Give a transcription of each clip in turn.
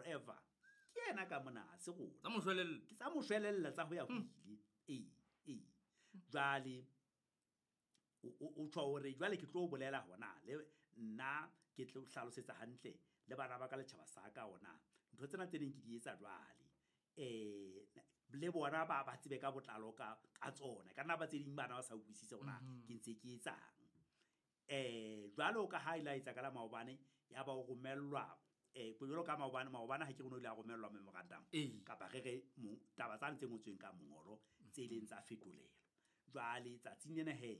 forever. Ke yena ka mona, ha se rona. Tsa moshwelella. Ke tsa moshwelella tsa ho ya ho ile. Ee, ee. Jwale o tjho hore jwale ke tlo bolela hona le nna, ke tlo hlalosetsa hantle le bana ba ka, letjhaba sa ka, ona ntho tsena tse neng ke di etsa jwale, le bona ba tsebe ka botlalo ka tsona. Ka nna ba tse ding bana ba sa utlwisise hore ke ntse ke etsang. Jwalo ka ha ile a etsa ka la maobane, ya ba o romellwa, jwalo ka maobane, maobane ha ke re no ile a romellwa memorandum, kapa re re taba tsane tse ngotsweng ka mongolo tse ileng tsa fetolelwa. Jwale tsatsing lena he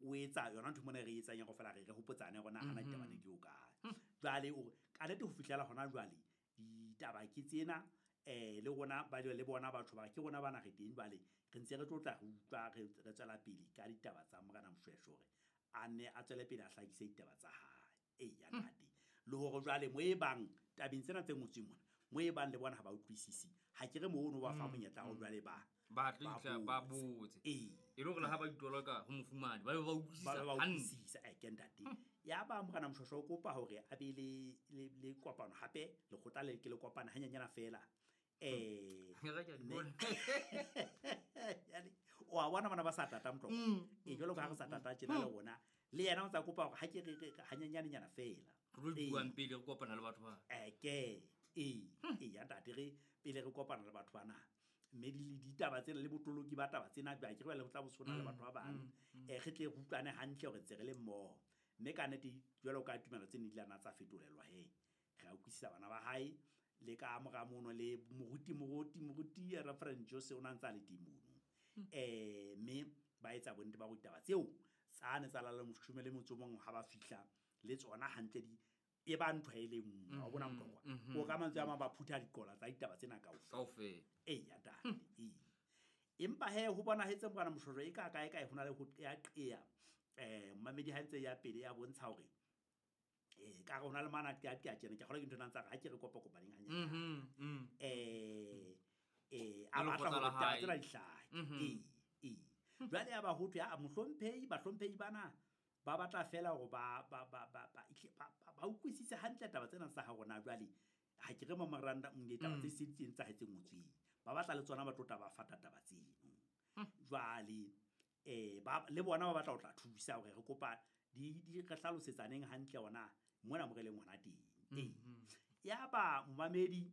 o etsa yona ntho mona re etsang ya kaofela, re hopotsane hore na hana ditaba ne di o kae. Jwale o re ka nnete ho fihlela hona jwale ditaba ke tsena, le rona ba le bona batho ba ke rona bana re teng jwale, re ntse re tlo tla re utlwa, re tswela pele ka ditaba tsa Morena Moshweshwe hore a nne a tswele pele a hlakise ditaba tsa hae. Ee, ya ntate. Le hore jwale mo e bang tabeng tsena tse ngotsweng mona, mo e bang le bona ha ba utlwisisi, ha ke re mono ba fa monyetla ho jwale ba ba tlo ba itla ba botse. Botse. Ee. E le hore le ha ba itlola ka ho mofumane, ba be ba utlwisisa Ba be ba hantle. utlwisisa, ke ntate. Ya ba Morena Moshweshwe o kopa hore a be le kopano hape, lekgotla le ke le kopana hanyenyana feela. Ke re ke a di bona. Jwale, o a bona bana ba sa tata motlotlo. Ee, jwalo ka ha re sa tata tjena le rona, le yena o ntsa kopa hore ha ke re hanyenyanenyana feela. Re tlo buang pele re kopana le batho ba. Ke, ee, ee, ya ntate, re pele re kopana le batho bana. Mme di ditaba tsena le botoloki ba taba tsena, ba ke re le ho tla bo sona le batho ba bang. Re tle re utlwane hantle hore ntse re le mmoho. Mme ka nnete jwalo ka tumelo tse ne di la tsa fetolelwa he. Re a utlwisisa bana ba hae le ka mora mono le moruti Reverend Jose o na ntsa le teng mono. Mme ba etsa bonnete ba hore ditaba tseo tsane tsa lala moshome le motso mong ha ba fihla le tsona hantle di e ba ntho e le nngwe. Wa bona motlokwa? O ka mantswe a mang ba phutha diqola tsa ditaba tsena kaofela. Kaofela. Ee, ya ntate, ee. Empa he ho bonahetse Morena Moshweshwe e ka kae kae ho na le ho qeaqea. Mmamedi ha ntse ya pele ya bontsha hore, ka re ho na le mana qeaqea tjena, ke kgolwa ke ntho ena tsa re ha ke re kopa kopaneng hanyane. A Le batla lekgotla hore la ditaba hae. tsena di hlahe. Ee, ee. Jwale ya ba ho thwe, a mohlomphehi, bahlomphehi bana ba batla feela hore ba utlwisise hantle taba tsena tsa ha rona jwale. Ha ke re memorandum le taba tse seng tse tsa hae tse ngotsweng. Ba batla le tsona ba tlo tla ba fata taba tseno. Jwale, le bona ba batla ho tla thusa hore re kopa di re hlalosetsaneng hantle hona mona mo re leng hona teng. Ee. Ya ba momamedi,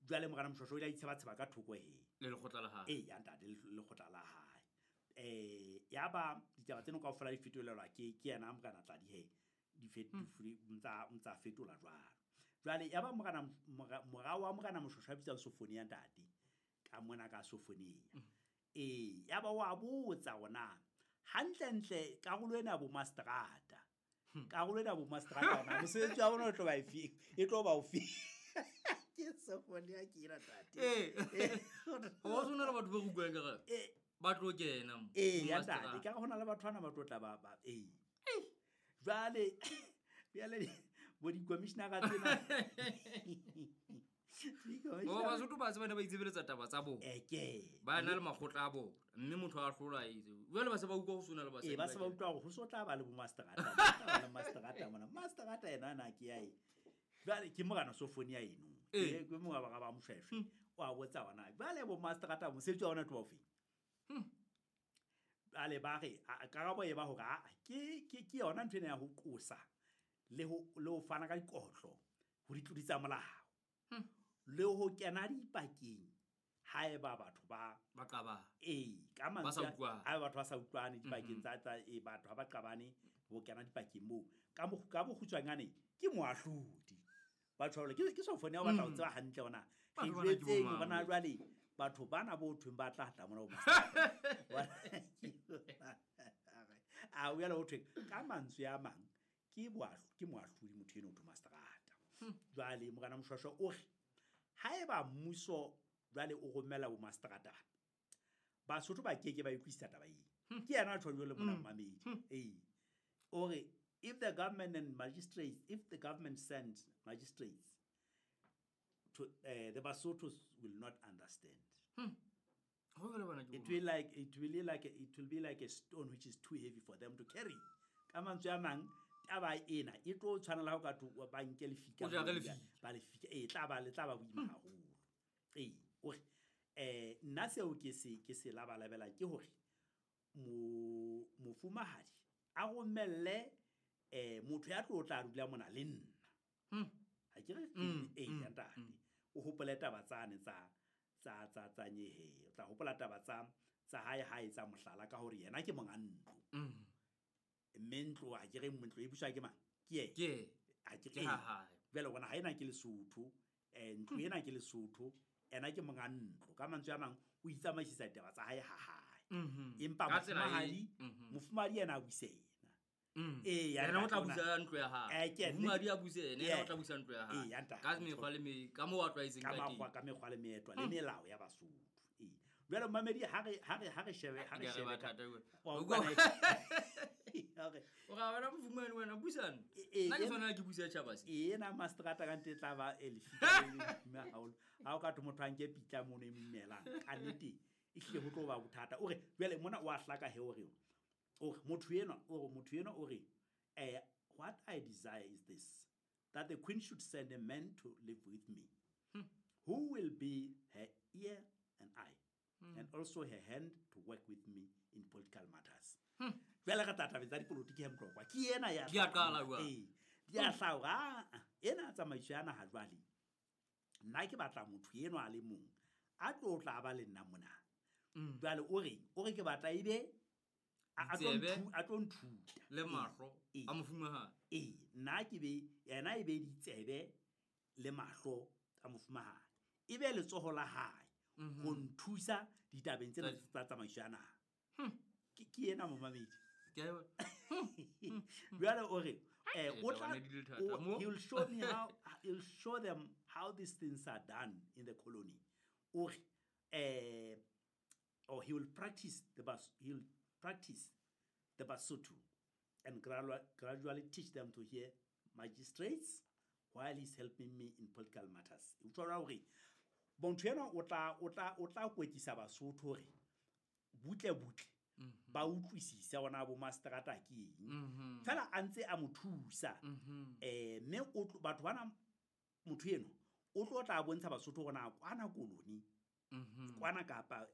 jwale Morena Moshweshwe o ile a itshebatsheba ka thoko he. Le lekgotla la hae. Ee, ya ntate, le lekgotla la hae. Ya ba ditaba tseno kaofela di fetolelwa ke yena Morena Tladi he. Di ntsa fetola jwalo. Jwale ya ba mora wa Morena Moshweshwe a bitswang Sofonia ntate, ka mona ka Sofonia. Ee, ya ba wa botsa hore hantlentle karolo ena ya bo mastrata. Karolo ena ya bo mastrata hona mosebetsi wa bona o tlo ba efe? E tlo ba ofe? Ke Sofonia ke ena ntate. Ee. Ho se hona le batho ba utlwang ka re. Ee. Ba tlo kena mo. Ee, ya Mastrata. ntate, ka re hona le batho bana ba tlo tla ba, ee. Jwale, jwale bo di-commissioner-a tsena. Bo Basotho ba tseba ne ba itsebeletsa taba tsa bona. Ke. Ba na le makgotla a bona, mme motho a hlola a itse. Jwale ba se ba utlwa ho sona le basadi Ee, ba ba se ba kena. utlwa hore ho so tla ba le bo mastrata. Ba tla ba le mastrata mona. Mastrata yena ana ke ya eng? Jwale ke Morena Sofonia eno. Ee. Ke mongwe wa bara ba Moshweshwe. O a botsa hona. Jwale bo mastrata mosebetsi wa bona ke wa ofeng? Jwale ba re, karabo e ba hore, ke yona ntho ena ya ho qosa le ho fana ka dikotlo ho ditlodi tsa molao. Le ho kena dipakeng haeba batho ba Ba qabana. Ee, ka Ba sa mantswe a- utlwane. haeba batho ba sa utlwane dipakeng tsa, ee, batho ha ba qabane ho kena dipakeng moo. Ka bokgutshwanyane ke moahlodi. Batho ba jwale, ke Sofonia o batla ho tseba hantle hore na re Batho bana ke jwetseng bo hore na mang? jwale batho bana bo thweng ba tla tla mona bo Mastrata. A o jwale ho thweng ka mantswe a mang ke moahlodi motho eno o thwe Mastrata. Jwale Morena Moshweshwe o re haeba mmuso jwale o romela bo Mastrata, Basotho ba keke ba utlwisisa taba eo. Ke yena a tjho jwalo mona mmamedi. Ee. O re if the government and magistrates, if the government sends magistrates to, the Basothos will not understand. Ho jwale bana ke It bo will like, it will be like, it will be like a stone which is too heavy for them to carry. Ka mantswe a mang, Taba ena e tlo tshwanela ho ka thwe ba nke lefika O jare moo, lefika. Ba lefika. E tla ba le tla ba boima haholo. Ee, o re nna seo ke se labalabelang ke hore mofumahadi a romelle motho ya tlo tla dula mona le nna. Ha ke re ee, ntate. O hopole taba tsane tsa nyehe. O tla hopola taba tsa hae ha etsa mohlala ka hore yena ke monga ntlo. Mme ntlo ha ke re ntlo e buswa ke mang? Ke yena. Ke yena. Ha ke Ke re ha hae. Jwale bona ha ena ke Lesotho, ntlo ena ke Lesotho, ena ke monga ntlo. Ka mantswe a mang o itsamaisisa ditaba tsa hae ha hae. Empa Ka tsela e, mofumahadi yena a buse yena. Ee, ya Yena o tla ntate busa ntlo ya hae. Ke yena. Mofumahadi a buse yena, yena o Ee. tla busa ntlo ya hae. Ee, ya ntate. Ka mekgwa le me-, ka moo a tlwaetseng Ka ka teng. mekgwa, ka mekgwa le meetlo le melao ya Basotho. Ee. Jwale momamedi, ha re, ha re, ha re shebe, ha re Ke a re shebe ba ka- thata wena. Wa O utlwa utlwa- na- Hore- O ra wena mofumahadi wena, busana. Ee, Nna ke ee, tshwanela ke buse tjhaba se. Ena mastrata ka ntle e tla ba e lefika le le boima haholo. Ha o ka thwe motho a nke pitla mono e mo imelang, ka nnete e hlile ho tlo ba bothata. O re, jwale mona o a hlaka he o re, o re, motho enwa, o re, motho enwa o re, what I desire is this, that the queen should send a man to live with me, who will be her ear and eye, and also her hand to work with me in political matters. Jwale re tla tabeng tsa dipolotiki he Motlokwa. Ke ena ya Di a qala hlahang. jwale. Ee, di a hlaha hore, ena tsamaiso ya naha jwale, nna ke batla motho enwa a le mong, a tlo tla ba le nna mona. Jwale o reng? O re ke batla ebe a tlo Ditsebe a tlo nthuta. le Ee, mahlo ee. a mofumahadi. Ee, nna ke be, yena e be ditsebe le mahlo a mofumahadi. E be letsoho la hae ho nthusa ditabeng tsena tsa tsamaiso ya naha. Ke ena momamedi. Ke a e bona. Jwale o re, Ee, o tla, taba ne di le thata. o, Mo? he will show me how, he'll show them how these things are done in the colony. O re, or he will practice the Bas, he will practice the Basotho and gradually teach them to hear magistrates while he's helping me in political matters. O tshwara hore motho enwa o tla kwetlisa Basotho hore butle butle ba utlwisise hore bo mastrata ke eng. Fela a ntse a mo thusa. Mme o tlo, batho bana, motho enwa o tlo tla bontsha Basotho hore na kwana koloni, kwana kapa,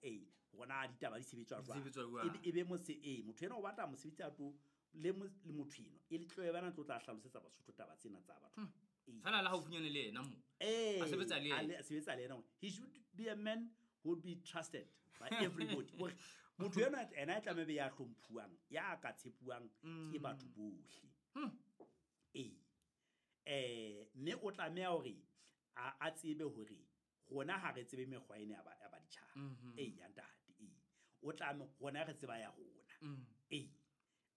hore na ditaba di sebetswa Di jwang. sebetswa jwang. Ebe, ebe mose, motho enwa o batla mosebetsi a tlo, le mo, le motho enwa, e le tlo e bana tlo tla hlalosetsa Basotho taba tsena tsa batho. Ee. Fela le haufinyane le yena mo. Ee, A sebetsa le a yena. le, a sebetsa le yena. He should be a man who would be trusted by everybody. Hore motho enwa ena e tlameha be ya hlomphuwang, ya ka tshepuwang ke batho bohle. Ee. Mme o tlameha hore a tsebe hore rona ha re tsebe mekgwa ena ya baditjhaba. Ee, ya ntate, ee. O tlameha, rona re tseba ya rona. Ee.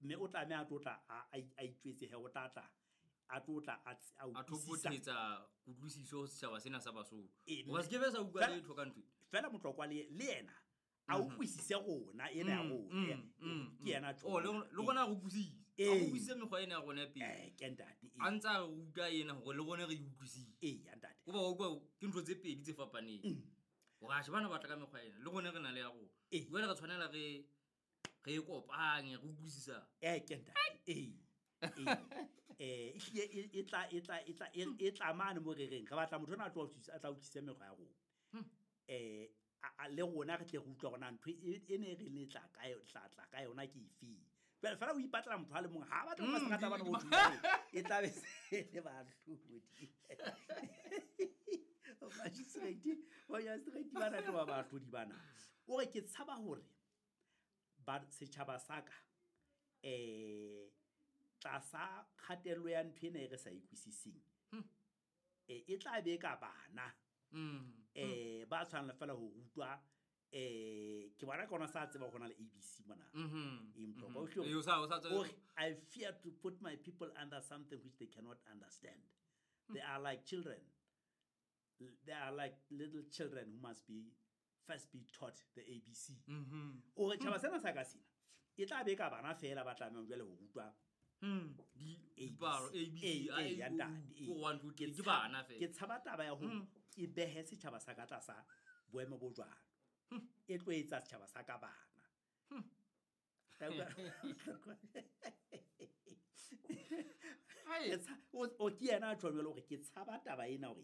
Mme o tlameha a tlo tla a itjwetse he, o tla tla, a tlo tla a a A utlwisisa. thopothetsa kutlwisiso ho setjhaba sena sa Basotho. Ee, Hoba se ke be sa utlwa fela letho ka ntho e. Fela Motlokwa le yena a utlwisise rona, ena ya rona, ke yena Oh, tjho. le rona re utlwisise. A Ee. utlwisise mekgwa ena ya rona ya pele. Ke ntate, ee. A ntse a re ruta ena hore le rona re e utlwisise. Ee, ya ntate. Hoba wa utlwa ke ntho tse pedi tse fapaneng. Hore atjhe bana ba tla ka mekgwa ena, le rona re na le ya rona. Ee. Jwale re tshwanela re e kopanye, re utlwisisane. Ke ntate, ee. Ee. Ehlile e, e tla, e tla, e tla, e, e tla mane mo re reng, re batla motho ona a tlo utlwisisa, a tla utlwisise mekgwa ya rona. A le rona re tle re utlwe hore na ntho e ne re le tla ka yo-, tla, tla ka yona ke efeng. Jwale fela o ipatlela motho a le mong, ha a batle ho mastrata bana bo thusang, e tla be se le bahlodi. Magistrate, magistrate bana ke ba bahlodi bana. O re ke tshaba hore ba setjhaba sa ka, tlasa kgatello ya ntho ena e re sa utlwisiseng, e tla be ka bana. Ba tshwanela fela ho rutwa, ke bona ka ona sa tseba ho na le ABC mona. Ee, Motlokwa, o hlile Ee, o sa, o sa tsebe. o re, I fear to put my people under something which they cannot understand. They are like children. They are like little children who must be first be taught the ABC. O re tjhaba sena sa ka sena, e tla be ka bana fela ba tlamehang jwale ho rutwa Di dipalo, A, B C. A, B, C, A, A, A, ya O, ntate, U, A. 1, 2, 3, Ke ke bana fela. Ke tshaba taba ya hore ke behe setjhaba sa ka tlasa boemo bo jwalo. E tlo etsa setjhaba sa ka bana. Hai. Ke o ke yena a tjhong jwale hore ke tshaba taba ena hore